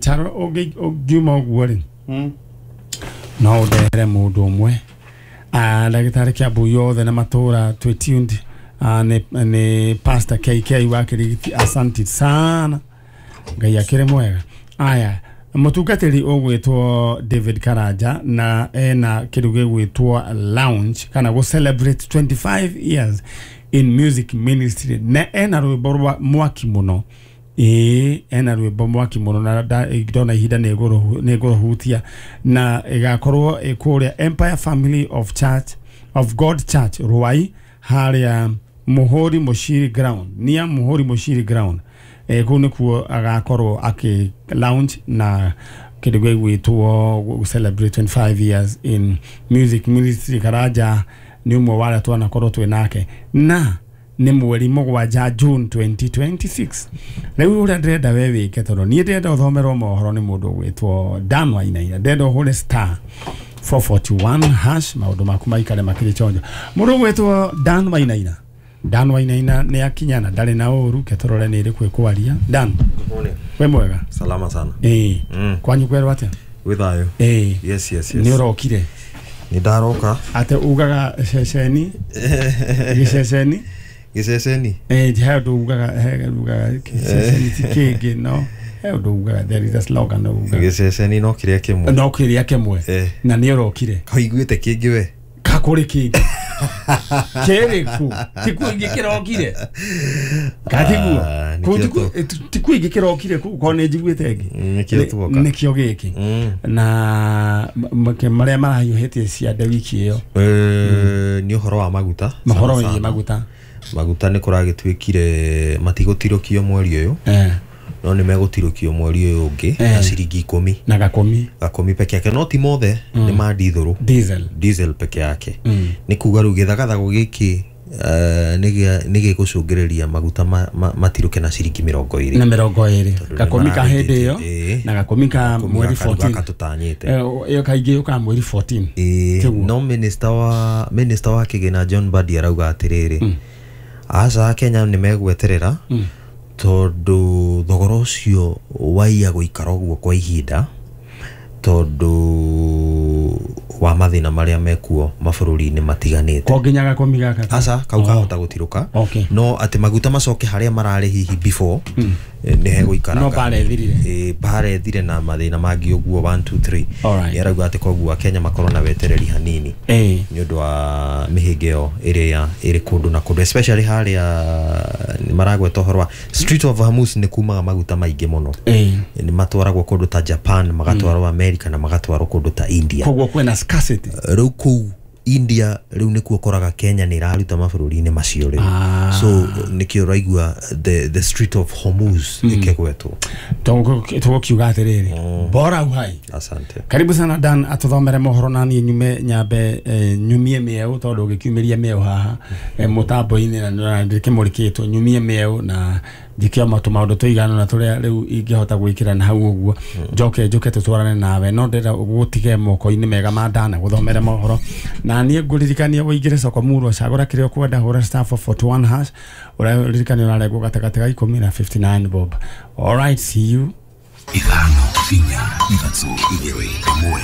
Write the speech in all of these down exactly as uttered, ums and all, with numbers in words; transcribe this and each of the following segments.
Charo ũngiuma ũguo rĩ no ũndehere mũndũ ũmwe. Ah, ndagĩtarĩ Kiambu yothe na matũra twĩ tuned. Ah, nĩ nĩ Pastor K K wa Kĩrigiti, asante sana, Ngai akĩrĩ mwega. Aya, mũtungatĩri ũgwĩtwo David Karanja na ena kĩndũ gĩgwĩtwo lounge kana gũ celebrate twenty-five years in music ministry, na ena rwĩmbo rwa mwaki mũno. Ĩĩ, ena rwĩmbo mwaki mũno na ndona ihinda nĩ ngũrũhutia, na ĩgakorwo ĩ kũrĩa Empire Family of Church of God Church Ruai, harĩa Muhuri Mushiri ground, nia Muhuri Mushiri ground. Eh, kũu nĩkuo agakorwo akĩ lounge na kĩndũ gĩgwĩtwo celebrate twenty-five years in music ministry. Karanja nĩ ũmwe wa arĩa twanakorwo twĩ nake, na nĩ mweri mũgwanja June twenty twenty-six. Rĩu ũrĩa ndĩrenda we wĩke, tondũ niĩ ndĩrenda ũthomerwo mohoro nĩ mũndũ ũgwĩtwo Dan Wainaina, ndĩrenda ũhũre star four forty-one hash maũndũ maku maikare makĩrĩ chonjo. Mũndũ ũgwĩtwo Dan Wainaina, Dan Wainaina nĩ akinya na ndarĩ na ũru, ke tũrore nĩ ĩrĩkũ ĩkwaria. Dan, wĩ mwega? Salama sana. Ĩĩ. Kwanyu kwerwo atĩa? Gwĩ thayũ. Ĩĩ. Yes, yes, yes. Nĩ ũrokire? Nĩ ndaroka. Atĩ ugaga ceceni? Gĩceceni? Gĩceceni? Ĩĩ, he ũndũ ugaga, he ugaga gĩceceni ti kĩngĩ, no he ũndũ ugaga, there is a slogan ugaga. Gĩceceni no kĩrĩa kĩmwe. No kĩrĩa kĩmwe. Na nĩ ũrokire? Kaiguĩte kĩngĩ we? Kakũrĩ kĩngĩ. Kĩrĩkũ? Ti kũu ingĩ kĩrokire? Katiguo? Ti kũu ingĩ kĩrokire kũu, korwo nĩ njiguĩte ĩngĩ. Nĩkĩo tuoka. Nĩkĩo gĩkĩ. Na marĩa marahiũhĩtie ciande wiki ĩyo. Nĩ ũhoro wa maguta. Mohoro wĩgiĩ maguta. Maguta nĩ kũragĩtuĩkire matigũtirũkio mweri ũyũ. No nĩ megũtirũkio mweri ũyũ ũngĩ na ciringi ikũmi. Na gakũmi. Gakũmi peke yake, no ti mothe, nĩ ma dithũrũ. Diesel. Diesel peke yake. Nĩ kuga rĩu gĩthagathago gĩkĩ nĩ gĩgũcũngĩrĩria maguta matirũke na ciringi mĩrongo ĩrĩ. Na mĩrongo ĩrĩ. Gakũmi ka hĩndĩ ĩyo na gakũmi ka mweri fourteen. Gaka tũtanyĩte. Ĩyo kaingĩ yũkaga mweri fourteen. Ĩĩ, no minister wa minister wa kĩgĩna John Mbadi arauga atĩrĩrĩ, aca Kenya nĩ megweterera tondũ thogora ũcio waiya gũikara ũguo kwa ihinda tondũ wa mathĩna marĩa mekuo mabũrũri-inĩ matiganĩte. Ko nginya gakũmi gaka? Aca, kau kahota gũtirũka. No atĩ maguta macoke harĩa mararĩ hihi before nĩ hegũikara. No bara ĩthirire. Ĩĩ, bara ĩthire na mathĩna mangĩ ũguo one two three. Nĩ arauga atĩ koguo Akenya makorwo na wetereri hanini nĩ ũndũ wa mĩhĩnga ĩyo ĩrĩa ĩrĩ kũndũ na kũndũ, especially harĩa nĩ maragweta ũhoro wa Strait of Hormuz nĩ kumaga maguta maingĩ mũno. Nĩ matwaragwo kũndũ ta Japan, magatwarwo America na magatwarwo kũndũ ta India. Koguo kwĩna scarcity. Rĩu kũu India rĩu nĩkuo ũkoraga Kenya nĩ ĩraruta mabũrũri-inĩ macio rĩu. So nĩkĩo ũraigua the the Strait of Hormuz ĩkĩgwetwo. Tũgũkiuga atĩrĩrĩ, bora uhai. Asante. Karibu sana Dan, atũthomere mohoro na niĩ nyume nyambe nyumie mĩeũ tondũ ũgĩkiumĩria mĩeũ haha mũtambo-inĩ na ndĩkĩmũrĩkĩtwo, nyumie mĩeũ na njĩke tũmaũndũ tũigana na tũrĩa rĩu ingĩhota gwĩkĩra na hau ũguo, njoke njũke tũtwarane nawe, no ndĩrenda gũtige moko-inĩ mega ma Dan gũthomere mohoro. Na niĩ ngũririkanie ũingĩre soko murwa, cagũra kĩrĩa ũkwenda, hũra star four forty-one hash, ũraririkania ũrarengwo gatagatĩ ga ikũmi na fifty-nine bob. All right, see you. Ithano inya ithatũ igĩrĩ ĩmwe.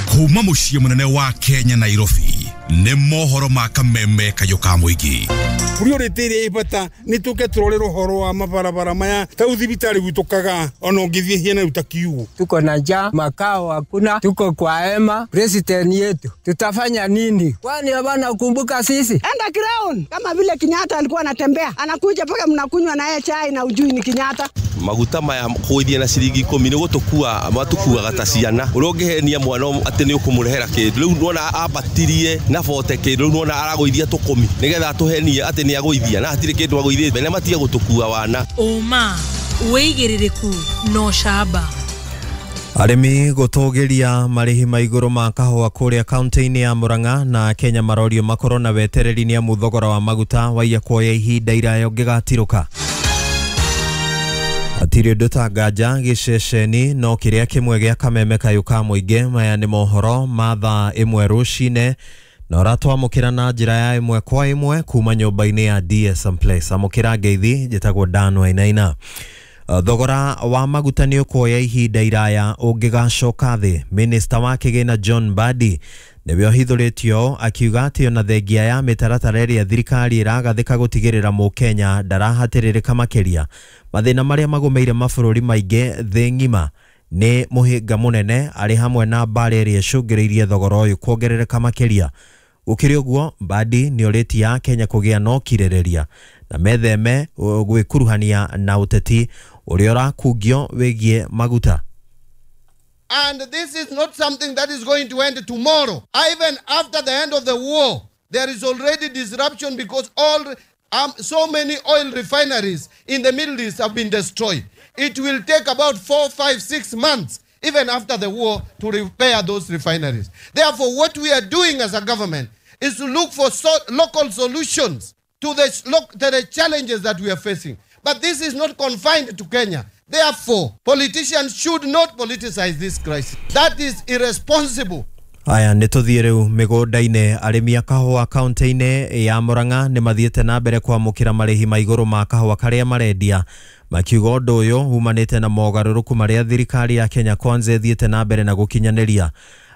Kuma mũciĩ mũnene wa Kenya Nairobi nĩ mohoro ma kameme kayũ ka mũingĩ. Priority ĩrĩa ĩ bata nĩ tũke tũrore ũhoro wa mabarabara maya ta thibitarĩ gwitũ Kagaa, ona ũngĩthiĩ hiana rĩu ta kiugo. Tuko na njaa, makao hakuna, tuko kwa hema. President yetu tutafanya nini? Kwani hawana kumbuka sisi? Enda ground kama vile Kenyatta alikuwa anatembea, anakuja mpaka mnakunywa na yeye chai na ujui ni Kenyatta. Maguta maya kũithia na ciringi ikũmi nĩ gũtũkua matukuaga ta ciana. Ũrĩa ũngĩhenia mwana atĩ nĩ ũkũmũrehera kĩndũ, rĩu nĩwona ambatirie na bote kĩndũ, rĩu nĩwona aragũithia tũkũmi nĩgetha atũhenie atĩ nĩ agũithia, na hatirĩ kĩndũ agũithĩte, na matige gũtũkua wana. Ũma wĩigĩrĩrĩku no camba. Arĩmi gũtũgĩria marĩhi ma igũrũ ma kahũa kũrĩa kaunti-inĩ ya Murang'a na Kenya marorio makorwo na wetereri nĩ amu thogora wa maguta waiya kuoya ihinda iraya ũngĩgatirũka. Hatirĩ ũndũ ta nganja gĩceceni no kĩrĩa kĩmwe gĩa kameme kayũ ka mũingĩ. Maya nĩ mohoro ma thaa ĩmwe rũcinĩ na ũratwamũkĩra na njĩra ya ĩmwe kwa ĩmwe kuma nyũmba-inĩ ya D S M Place. Amũkĩra ngeithi, njĩtagwo Dan Wainaina. Thogora wa maguta nĩ ũkuoya ihinda iraya ũngĩgacoka thĩ. Minista wa kĩgĩna John Mbadi nĩwe ũhithũrĩtio akiuga atĩ ona thengia ya mĩtaratara ĩrĩa thirikari ĩragathĩka gũtigĩrĩra mũkenya ndarahatĩrĩrĩka makĩria, mathĩna marĩa magũmĩire mabũrũri maingĩ thĩ ng'ima nĩ mũhĩnga mũnene arĩ hamwe na mbara ĩrĩa ĩcũngĩrĩirie thogora ũyũ kuongerereka makĩria. Gũkĩrĩ ũguo, Mbadi nĩ orĩtie Akenya kũgĩa na ũkirĩrĩria na metheme gwĩkuruhania na ũteti ũrĩa ũrakungio wĩgiĩ maguta. And this is not something that is going to end tomorrow. Even after the end of the war, there is already disruption because all um, so many oil refineries in the Middle East have been destroyed. It will take about four, five, six months, even after the war, to repair those refineries. Therefore, what we are doing as a government is to look for so local solutions to the, to the challenges that we are facing. But this is not confined to Kenya. Therefore, politicians should not politicize this crisis. That is irresponsible. Aya nĩ tũthiĩ rĩu mĩgũnda-inĩ. Arĩmi a kahũa kaunti-inĩ ya Murang'a nĩ mathiĩte na mbere kwamũkĩra marĩhi ma igũrũ ma kahũa karĩa marendia, makiuga ũndũ ũyũ umanĩte na mogarũrũku marĩa thirikari ya Kenya Kwanza ĩthiĩte na mbere na gũkinyanĩria.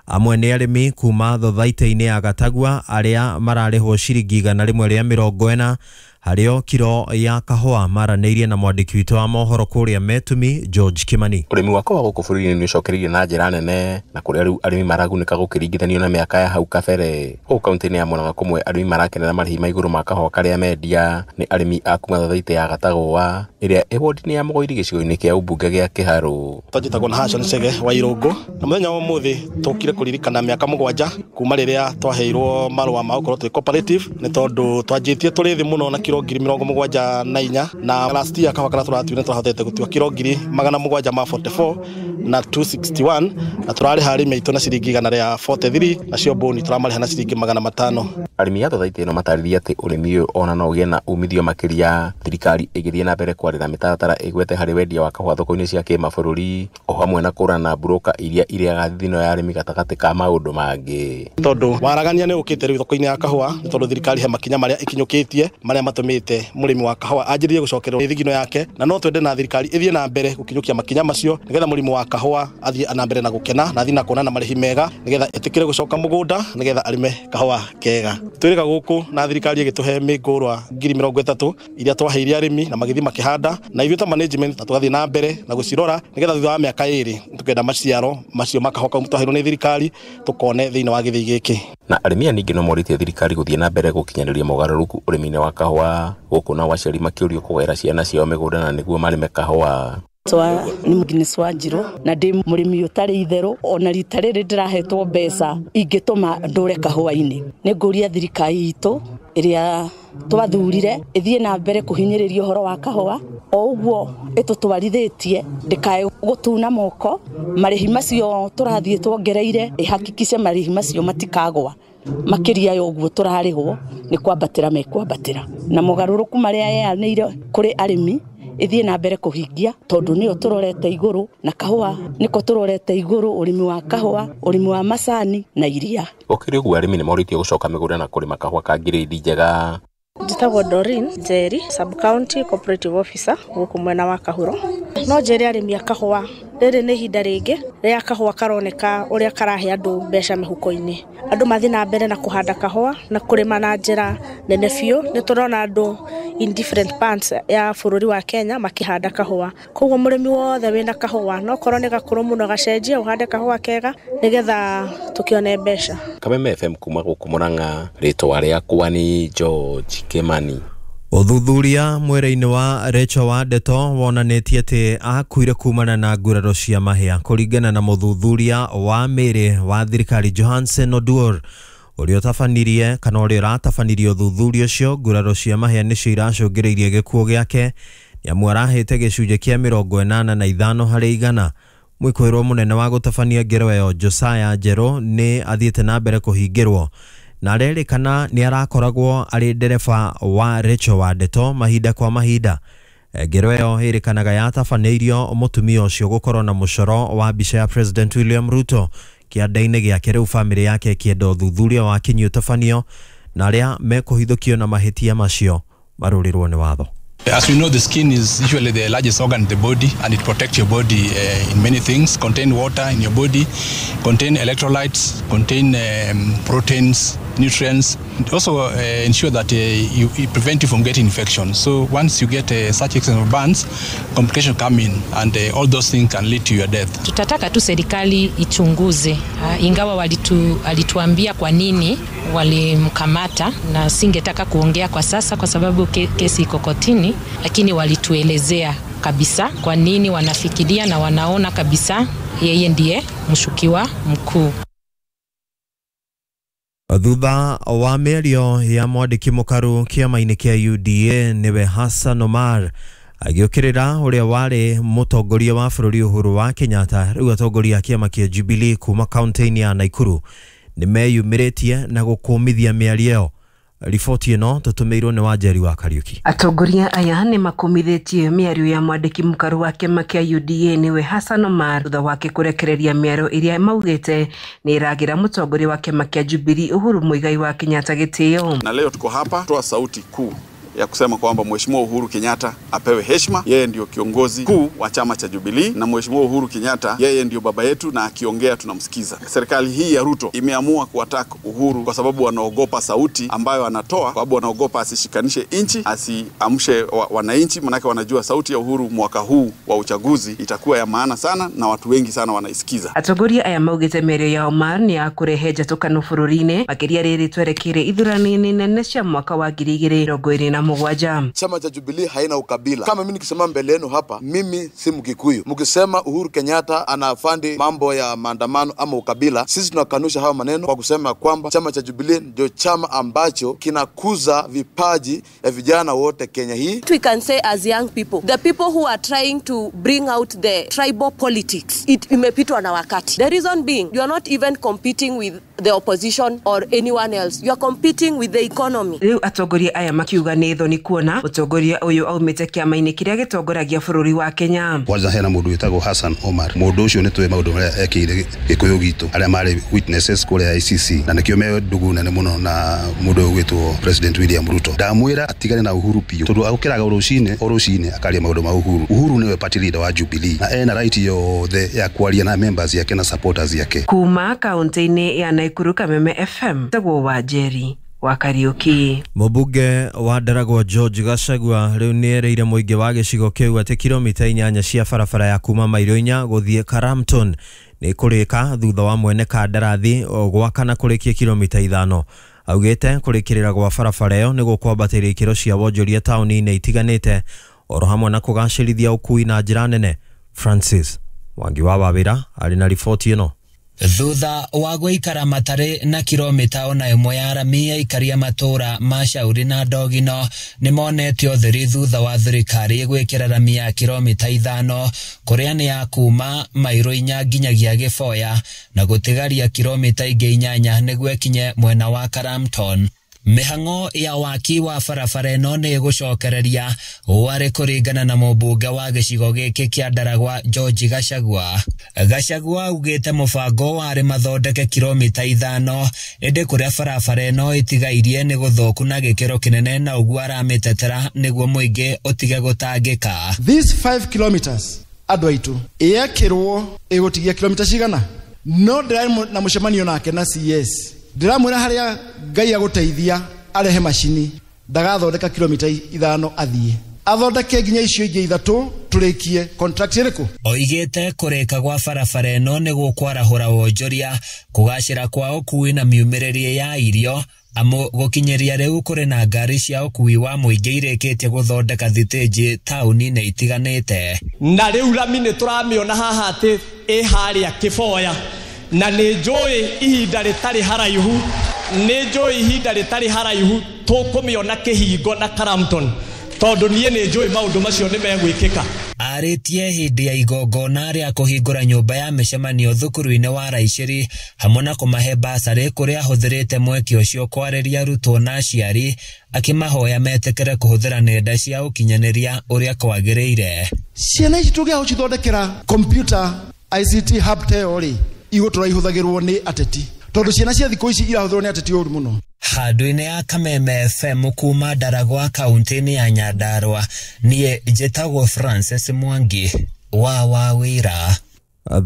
Amwe nĩ arĩmi kuma thothaitĩ-inĩ ya Gatagua arĩa mararĩhwo ciringi igana rĩmwe rĩa mĩrongo ĩna harĩo kiro ya kahũa, maranĩirie na mwandĩki witũ wa mohoro kũrĩa Metumi George Kimani. Ũrĩmi wa kahũa gũkũ bũrũri-inĩ nĩ ũcokereirie na njĩra nene na kũrĩa rĩu arĩmi maragunĩka gũkĩringithanio na mĩaka ya hau kabere. Gũkũ kaunti-inĩ ya Murang'a kũmwe arĩmi marakenera marĩhi ma igũrũ ma kahũa karĩa mendia nĩ arĩmi a kuma thothaitĩ ya Gatagũa ĩrĩa ĩ wodi-inĩ ya Mũgoiri gĩcigo-inĩ kĩa ũmbunge gĩa Kĩharũ. Twanjĩtagwo na Hashon Chege wa Irũngũ na mũthenya wa ũmũthĩ tũkire kũririkana mĩaka mũgwanja kuma rĩrĩa twaheirwo marũa ma gũkorwo twĩ cooperative, nĩ tondũ twanjĩtie tũrĩ thĩ mũno na kiro ngiri mĩrongo mũgwanja na inya na last year kahũa karĩa tũratuire nĩtwahotete gũtua kiro ngiri magana mũgwanja ma forty-four na two sixty-one na tũrarĩha arĩmi aitũ na ciringi igana rĩa forty-three nacio mbũni tũramarĩha na ciringi magana matano. Arĩmi a thothaitĩ ĩno matarĩria atĩ ũrĩmi ũyũ ona no ũgĩe na umithio makĩria thirikari ĩgĩthiĩ na mbere kwarĩra mĩtaratara ĩgwete harĩ wendia wa kahũa thoko-inĩ cia kĩmabũrũri o hamwe na kũrana na mburũka iria irĩaga thithino ya arĩmi gatagatĩ ka maũndũ mangĩ. Tondũ waragania nĩ ũkĩte rĩu thoko-inĩ ya kahũa nĩ tondũ thirikari he makinya marĩa ĩkinyũkĩtie marĩa matũmĩte mũrĩmi wa kahũa anjĩrĩrie gũcokererwo thigino yake, na no twende na thirikari ĩthiĩ na mbere gũkinyũkia makinya macio nĩgetha mũrĩmi wa kahũa athiĩ na mbere na gũkena na athiĩ na kuona na marĩhi mega nĩgetha ĩtĩkĩre gũcoka mũgũnda nĩgetha arĩme kahũa kega. Twĩrĩga gũkũ na thirikari ĩgĩtũhe mĩngũrwa ngiri mĩrongo ĩtatũ iria twaheire arĩmi na magĩthiĩ makĩhanda, na ithuĩ ta management na tũgathiĩ na mbere na gũcirora nĩgetha thutha wa mĩaka ĩrĩ tũkenda maciaro macio ma kahũa kau twaheirwo nĩ thirikari tũkone thĩinĩ wa gĩthĩi gĩkĩ. Na arĩmi aya ningĩ no morĩtie thirikari gũthiĩ na mbere gũkinyanĩria mogarũrũku ũrĩmi-inĩ wa kahũa gũkũ nao aciari makĩũrio kũgaĩra ciana ciao mĩgũnda na nĩguo marĩme kahũa. Twa nĩ Agnes Wanjiru na ndĩ mũrĩmi ũtarĩ itherũ, ona rita rĩrĩ ndĩrahetwo mbeca ingĩtũma ndũre kahũa-inĩ. Nĩ ngũria thirikari itũ ĩrĩa twathurire ĩthiĩ na mbere kũhinyĩrĩria ũhoro wa kahũa o ũguo ĩtũtwarithĩtie, ndĩkae gũtuna moko. Marĩhi macio tũrathiĩ tuongereire ĩhakikice marĩhi macio matikagwa makĩria ya ũguo tũrarĩhwo nĩ kwambatĩra mekwambatĩra, na mogarũrũku marĩa yeanĩire kũrĩ arĩmi ĩthiĩ na mbere kũhingia tondũ nĩyo tũrorete igũrũ na kahũa nĩko tũrorete igũrũ, ũrĩmi wa kahũa, ũrĩmi wa macani na iria. Gũkĩrĩ ũguo arĩmi nĩ morĩtio gũcoka mĩgũnda na kũrĩma kahũa ka ngirĩndi njega. Njĩtagwo Doreen Njeri, sub county cooperative officer gũkũ mwena wa Kahuro. No njĩre arĩmi a kahũa rĩrĩ nĩ ihinda rĩngĩ rĩa kahũa karoneka ũrĩa karahe andũ mbeca mĩhuko-inĩ. Andũ mathiĩ na mbere na kũhanda kahũa na kũrĩma na njĩra nene biũ. Nĩ tũrona andũ in different parts ya bũrũri wa Kenya makĩhanda kahũa. Koguo mũrĩmi wothe wĩna kahũa no korwo nĩ gakũrũ mũno gacenjie ũhande kahũa kega nĩgetha tũkĩone mbeca. Kameme F M kuma gũkũ Murang'a, rĩtwa rĩakwa nĩ George Kimani. Ũthuthuria mwĩrĩ-inĩ wa Rachel Wandeto wonanĩtie atĩ akuire kumana na nguraro cia mahĩa kũringana na mũthuthuria wa mĩĩrĩ wa thirikari Johansen Oduor ũrĩa ũtabanirie kana ũrĩa ũratabanirie ũthuthuria ũcio. Nguraro cia mahĩa nĩcio iracũngĩrĩirie gĩkuũ gĩake nĩamu arahĩte gĩcunjĩ kĩa mĩrongo ĩnana na ithano harĩ igana. Mwĩkũĩrwo mũnene wa gũtabania ngero ĩyo Josiah Njerũ nĩ athiĩte na mbere kũhingĩrwo na arerĩkana nĩ arakoragwo arĩ ndereba wa Rachel Wandeto mahinda kwa mahinda. Ngero ĩyo ĩrĩkanaga yatabanĩirio mũtumia ũcio gũkorwo na mũcoro wa mbica ya President William Ruto kĩanda-inĩ gĩake. Rĩu bamĩrĩ yake ĩkĩenda ũthuthuria wa kinyi ũtabanio na arĩa mekũhithũkio na mahĩtia macio marũrĩrwo nĩ watho. As we know, the skin is usually the largest organ in the body, and it protects your body uh, in many things. Contain water in your body, contain electrolytes, contain um, proteins, nutrients. It also uh, ensure that uh, you, it prevent you from getting infection. So once you get uh, such extent of burns, complications come in, and uh, all those things can lead to your death. Tutataka tu serikali ichunguze, uh, ingawa walitu, alituambia kwa nini walimkamata, na singetaka kuongea kwa sasa kwa sababu ke, kesi iko kotini, lakini walituelezea kabisa kwa nini wanafikiria na wanaona kabisa yeye ndiye mshukiwa mkuu. Thutha wa mĩario ya mwandĩki mũkaru kĩama-inĩ kĩa U D A nĩwe Hassan Omar agĩũkĩrĩra ũrĩa warĩ mũtongoria wa bũrũri Uhuru wa Kenyatta, rĩu atongoria a kĩama kĩa Jubilee kuma kaunti-inĩ ya Nakuru nĩmeyumĩrĩtie na gũkũmithia mĩario ĩyo. Riboti ĩno tũtũmĩirwo nĩ Wanjeri wa Kariuki. Atongoria aya nĩ makumithĩtie mĩario ya mwandĩki mũkaru wa kĩama kĩa U D A nĩwe Hassan Omar thutha wake kũrekereria mĩario ĩrĩa maugĩte nĩ ĩragĩra mũtongoria wa kĩama kĩa Jubilee Uhuru Muigai wa Kenyatta gĩtĩo. Na leo tuko hapa toa sauti kuu ya kusema kwamba Mheshimiwa Uhuru Kenyatta apewe heshima. Yeye ndio kiongozi kuu wa chama cha Jubilee, na Mheshimiwa Uhuru Kenyatta yeye ndio baba yetu, na akiongea tunamsikiza. Serikali hii ya Ruto imeamua kuattack Uhuru kwa sababu wanaogopa sauti ambayo anatoa, kwa sababu wanaogopa asishikanishe nchi, asiamshe wananchi, manake wanajua sauti ya Uhuru mwaka huu wa uchaguzi itakuwa ya maana sana na watu wengi sana wanaisikiza. Atongoria aya maugĩte mĩario ya Omar nĩ ya kũrehe njatũkano bũrũri-inĩ, makĩria rĩrĩ twerekeire ithurano-inĩ nene cia mwaka wa ngiri igĩrĩ mĩrongo ĩrĩ na mũgwanja. Chama cha Jubilee haina ukabila. Kama mimi nikisema mbele yenu hapa, mimi si Mkikuyu. Mkisema Uhuru Kenyatta anafandi mambo ya maandamano ama ukabila, sisi tunakanusha hayo maneno kwa kusema kwamba chama cha Jubilee ndio chama ambacho kinakuza vipaji ya vijana wote Kenya hii. We can say as young people, the people who are trying to bring out the tribal politics, it imepitwa na wakati. The reason being, you are not even competing with the opposition or anyone else. You are competing with the economy. Rĩu atongoria aya makiuga nĩ thoni kuona mũtongoria ũyũ aumĩte kĩama-inĩ kĩrĩa gĩtongoragia bũrũri wa Kenya. Kwanza hena mũndũ wĩtagwo Hassan Omar. Mũndũ ũcio nĩ tũĩ maũndũ marĩa ekĩire Gĩkũyũ gitũ, arĩa marĩ witnesses kũrĩa I C C, na nĩkĩo me ndũgũ nene mũno na mũndũ ũyũ ũgwĩtwo President William Ruto. Ndamwĩra atigane na Uhuru biũ, tondũ agũkĩraga o rũcinĩ o rũcinĩ akaria maũndũ ma Uhuru. Uhuru nĩwe party leader wa Jubilee na ena right yothe ya kwaria na members yake na supporters yake. Kuma kaunti-inĩ ya Nakuru, Kameme F M, tagwo Wanjeri wa Kariuki. Mũmbunge wa Ndaragwa George Gachagua rĩu nĩereire mũingĩ wa gĩcigo kĩu atĩ kilomita inyanya cia barabara ya kuma mairo inya gũthiĩ Karamton nĩ kũrĩka thutha wa mwene kandarathi gwaka na kũrĩkia kilomita ithano. Augĩte kũrĩkĩrĩra gwa barabara ĩyo nĩ gũkwambatĩria ikĩro cia wonjoria taũni-inĩ itiganĩte oro hamwe na kũgacĩrithia ũkui na njĩra nene. Francis Mwangi wa Wawĩra arĩ na riboti ĩno. Thutha wa gũikara matarĩ na kilomita ona ĩmwe ya rami aikaria matũra ma Shauri na Ndogino nĩmonete ũtheri thutha wa thirikari gwĩkĩra rami ya kilomita ithano kũrĩa nĩ ya kuma mairo inya nginyagia Gĩboya na gũtigaria kilomita ingĩ inyanya nĩguo ĩkinye mwena wa Karamton. Mĩhang'o ya waki wa barabara ĩno nĩ ĩgũcokereria warĩ kũringana na mũmbunge wa gĩcigo gĩkĩ kĩa Ndaragwa George Gachagua. Gachagua augĩte mũbango warĩ mathondeke kilomita ithano ĩndĩ kũrĩa barabara ĩno ĩtigairie nĩ gũthũku na gĩkĩro kĩnene na ũguo aramĩtetera nĩguo mũingĩ ũtige gũtangĩka. These five kilometers andũ aitũ ĩyekĩrwo ĩgũtigia kilomita cigana no ndĩrarĩ na mũcemanio nake na C S ndiramwĩra harĩa Ngai agũteithia arehe macini ndagathondeka kilomita ithano athiĩ athondeke nginya icio ingĩ ithatũ tũrĩkie contract ĩrĩkũ. Oigĩte kũrĩka gwa barabara ĩno nĩ gũkwarahũra wonjoria, kũgacĩra kwa ũkui na miumĩrĩrie ya irio amu gũkinyĩria rĩu kũrĩ na ngari cia ũkui wa mũingĩ irĩkĩtie gũthondeka thitĩnji taũni-inĩ itiganĩte. Na rĩu rami nĩ tũramĩona haha atĩ ĩ harĩa Kĩboya, na nĩ njũĩ ihinda rĩtarĩ haraihu, nĩ njũĩ ihinda rĩtarĩ haraihu tũkũmĩona Kĩhingo na Karamton, tondũ niĩ nĩ njũĩ maũndũ macio nĩ megwĩkĩka. Arĩtie hĩndĩ ya igongona rĩa kũhingũra nyũmba ya mĩcemanio thukuru-inĩ wa Raicĩri hamwe na kũmahe basarĩ kũrĩa ahũthĩrĩte mweke ũcio kwarĩria arutwo na aciari akĩmahoya metĩkĩre kũhũthĩra nenda cia ũkinyanĩria ũrĩa kwagĩrĩire. Ciana ici tũngĩaga gũcithondekera computer I C T hub ta ĩyo rĩ, igũtũra ihũthagĩrwo nĩ ateti. Tondu ciana cia thikũ ici irahũthĩrwo nĩ ateti ũru mũno. Handũ-inĩ ya Kameme F M kuma Ndaragwa kaunti-inĩ ya Nyandarua, niĩ njĩtagwo Francis Mwangi wa Wawira.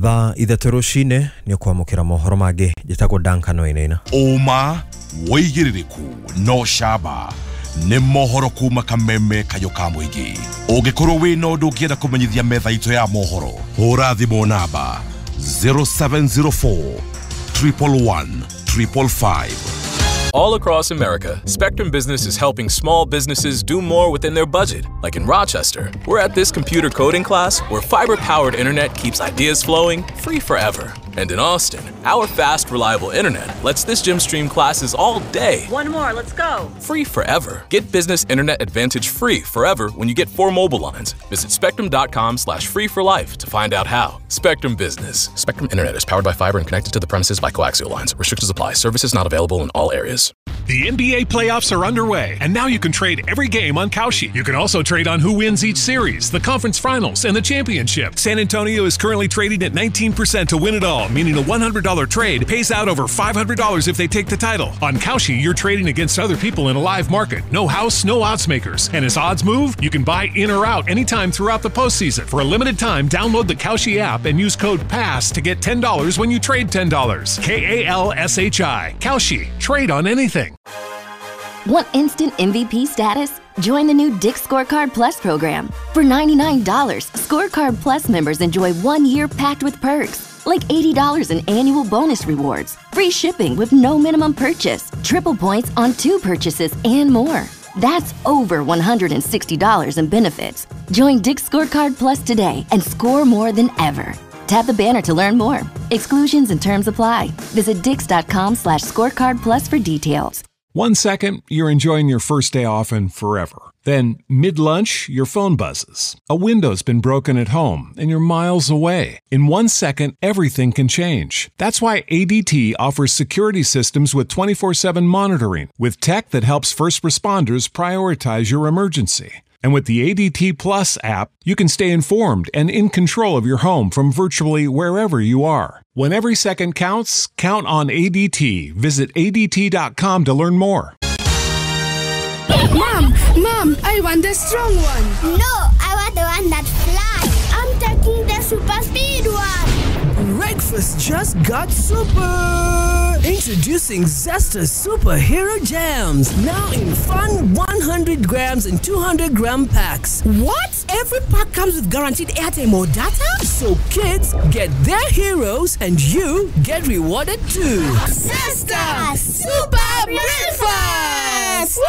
Thaa ithatũ rũcinĩ nĩ ũkwamũkĩra mohoro mangĩ. Njĩtagwo Duncan Wainaina. Ũma wĩigĩrĩrĩku no camba nĩ mohoro kuma Kameme kayũ ka mũingĩ. Ũngĩkorwo wĩna ũndũ ũngĩenda kũmenyithia metha itũ ya mohoro, hũra thimũ namba zero seven zero four triple one triple five. All across America, Spectrum Business is helping small businesses do more within their budget. Like in Rochester, we're at this computer coding class where fiber-powered internet keeps ideas flowing free forever. And in Austin, our fast, reliable internet lets this gym stream classes all day. One more, let's go. Free forever. Get business internet advantage free forever when you get four mobile lines. Visit spectrum.com slash free for life to find out how. Spectrum Business. Spectrum Internet is powered by fiber and connected to the premises by coaxial lines. Restrictions apply. Services not available in all areas. The N B A playoffs are underway, and now you can trade every game on Kalshi. You can also trade on who wins each series, the conference finals, and the championship. San Antonio is currently trading at nineteen percent to win it all, meaning a one hundred dollar trade pays out over five hundred dollars if they take the title. On Kalshi, you're trading against other people in a live market. No house, no odds makers. And as odds move, you can buy in or out anytime throughout the postseason. For a limited time, download the Kalshi app and use code PASS to get ten dollars when you trade ten dollars. K A L S H I. Kalshi. Trade on anything. Want instant M V P status? Join the new Dick's Scorecard Plus program. For ninety-nine dollars, Scorecard Plus members enjoy one year packed with perks, like eighty dollars in annual bonus rewards, free shipping with no minimum purchase, triple points on two purchases, and more. That's over one hundred sixty dollars in benefits. Join Dick's Scorecard Plus today and score more than ever. Tap the banner to learn more. Exclusions and terms apply. Visit dicks.com slash scorecard plus for details. One second, you're enjoying your first day off and forever. Then, mid-lunch, your phone buzzes. A window's been broken at home, and you're miles away. In one second, everything can change. That's why A D T offers security systems with twenty-four seven monitoring, with tech that helps first responders prioritize your emergency. And with the A D T Plus app, you can stay informed and in control of your home from virtually wherever you are. When every second counts, count on A D T. Visit A D T dot com to learn more. Mom, Mom, I want the strong one. No, I want the one that flies. I'm taking the super speed one. Breakfast just got super. Introducing Zesta Superhero Jams, now in fun one hundred grams and two hundred gram packs. What? Every pack comes with guaranteed airtime or data? So kids get their heroes and you get rewarded too. Zesta Super Breakfast!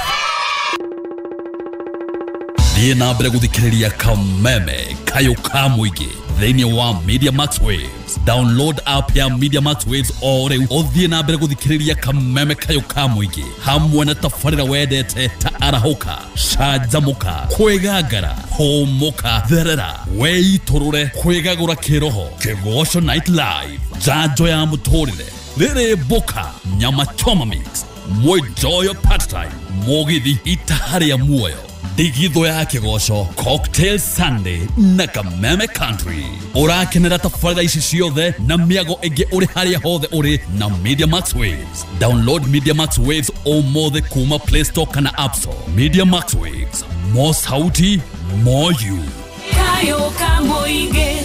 Thiĩ na mbere gũthikĩrĩria Kameme kayũ ka mũingĩ thĩinĩ wa Media Max Waves. Download app ya Media Max Waves o rĩu ũthiĩ na mbere gũthikĩrĩria Kameme kayũ ka mũingĩ hamwe na tabarĩra wendete ta arahũka, canjamũka, kwĩgangara, hũmũka, therera, wĩitũrũre, kwĩgagũra kĩroho, Kĩgoco Night Live, njanjo ya mũtũrĩre, rĩrĩ mboka, nyama choma mix, mwenjoyo part time, mũgithi itaha rĩa muoyo, ndigithũ ya kĩgoco, Cocktail Sunday na Kameme Country. Ũrakenera tabarĩra ici ciothe na mĩago ĩngĩ ũrĩ harĩa hothe ũrĩ na Media Max Waves. Download Media Max Waves ũmũthĩ kuma Play Store kana App Store. Media Max Waves, more sauti, more you. Kayo Kamoige.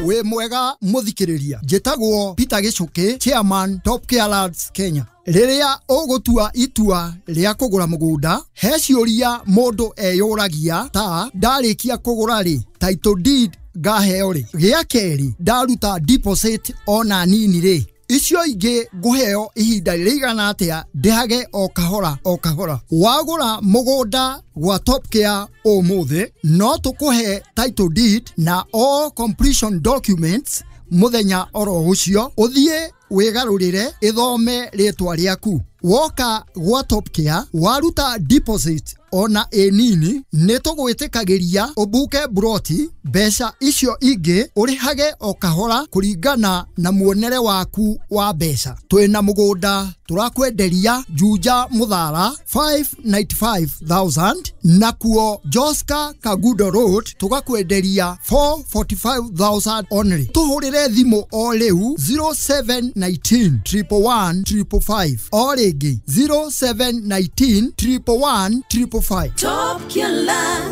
We mwega muthikiriria njitagwo Peter Gicuki, chairman Top Care Lads Kenya. Riria ugutua itua ria kugura mugunda, he ciuria mundu eyuragia ta ndarikia kugura ri title deed ngaheo ri, gia keri ndaruta deposit ona nini ri, icio ingĩ ngũheo ihinda rĩigana atĩa ndĩhage o kahora o kahora. Wagũra mũgũnda gwa Top Care ũmũthĩ no tũkũhe title deed na all completion documents mũthenya oro ũcio, ũthiĩ wĩgarũrĩre ĩthome rĩtwa rĩaku. Woka gwa Top Care waruta deposit ona ĩ nini nĩ tũgwĩtĩkagĩria ũbuke buroti mbeca icio ingĩ ũrĩhage o kahora kũringana na muonere waku wa mbeca. Twĩna mũgũnda tũrakwenderia Juja Muthara five ninety-five thousand nakuo Joska Kagudo Road tũgakwenderia four forty-five thousand only. Tũhũrĩre thimũ o rĩu zero seven nineteen triple one triple five o rĩngĩ zero seven nineteen triple one triple five. Top Killer.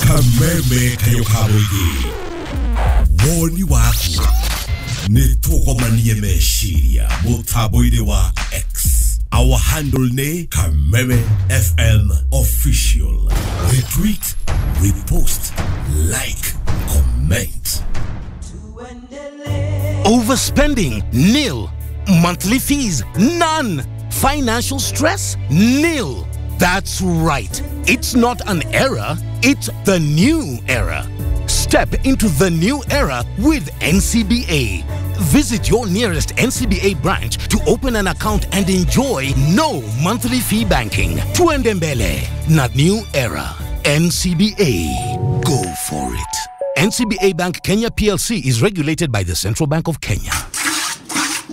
Kameme kayo ka mũingĩ woni waku nĩ tũgomanie meciria mũtambo-inĩ wa X. Our handle nĩ Kameme F M Official. Retweet, repost, like, comment. Overspending, nil. Monthly fees, none. Financial stress, nil. That's right. It's not an era, it's the new era. Step into the new era with N C B A. Visit your nearest N C B A branch to open an account and enjoy no monthly fee banking. Tuende mbele na new era. N C B A. Go for it. N C B A Bank Kenya P L C is regulated by the Central Bank of Kenya.